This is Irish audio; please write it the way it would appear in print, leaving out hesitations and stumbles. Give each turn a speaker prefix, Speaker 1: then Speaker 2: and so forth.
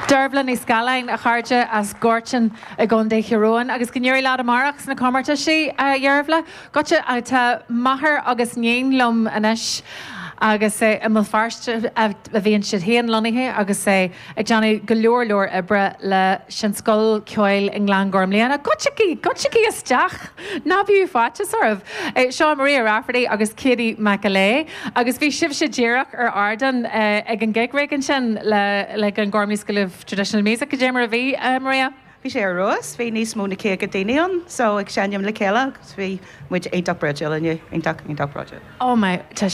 Speaker 1: Dearbhla Ní Scanláin, a chairde, as Gortin i gContae Thír Eoghain agus go n-éirí leat amárach sna comórtaisí, a Dhearbhla. Goitse, tá máthair agus níon liom anois agus i mBéal Feirste a bhíonn siad féin lonnaithe agus ag déanamh go leor leor oibre leis an scoil ceoil i nGleann Ghormlaithe. Goitsigí, goitsigí isteach! Ná bíodh faitíos oraibh! Seo Maria Rafferty agus Katie McAlee agus bhí sibhse díreach ar ardán ag an gig rig ansin le le Glengormley School of Traditional Music. Cad é mar a bhí, Maria?
Speaker 2: Bhí sé ar fheabhas, bhí níos mó na 50 daoine ann so ag seinm le chéile agus bhí muid iontach bródúil inniu, iontach, iontach bródúil.
Speaker 1: Oh my, tá.